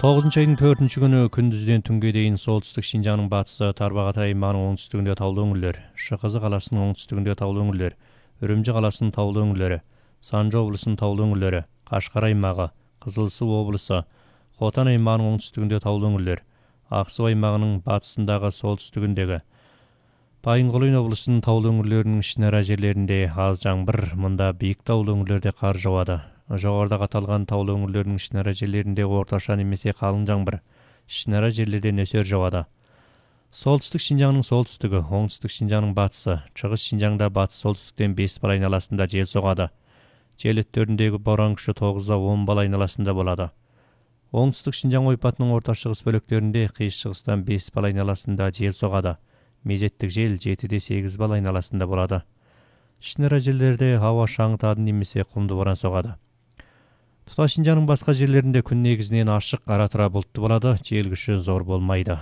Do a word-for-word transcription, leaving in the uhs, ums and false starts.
тогузунчу айдын төртүнчү күнү күндүздөн түнгө дейин солтүстүк Шинжаңдын батысы, Тарбагат аймагынын оңтүстүгүндө таулуу өңүрлөр, ШКЗ каласынын оңтүстүгүндө таулуу өңүрлөр, Үрүмчү каласынын таулуу өңүрлөрү, Санжы облусунун таулуу өңүрлөрү, Кашкар аймагы, Кызыл Суу облусу, Хотан аймагынын оңтүстүгүндө таулуу өңүрлөр, Ак Суу аймагынын батысындагы солтүстүгүндөгү, Байынгулуйн облусунун таулуу өңүрлөрүнүн ишнара жерлеринде аз жаңбыр, мында бийик таулуу өңүрлөрдө кар жаабады. Жогоруда аталган таулуу өңүрлөрдүн ишнара жерлеринде орточо немесе калың жаңбыр, ишнара жерлерде нөсөр жаабады. Солтүстүк Шинжаңдын солтүстүгү, оңтүстүк Шинжаңдын батысы, Чыгыш Шинжаңда батыш солтүстүктөн беш бал айналасында жел согады. Жел өттөрүндөгү борон күчү тогуздан он бал айналасында болот. Оңтүстүк Шинжаң ойпатынын орто чыгыс бөлүктөрүндө кыйш чыгыстан беш бал айналасында жел согады. Мезеттик жел жетиден сегиз бал айналасында болот. Ишнара жерлерде аба шаңытады немесе кумду борон согады. Тута Шинжаңдын башка жерлеринде күн негизинен ашык, ара-тыра булуттуу болот, жел күчү зор болмойт.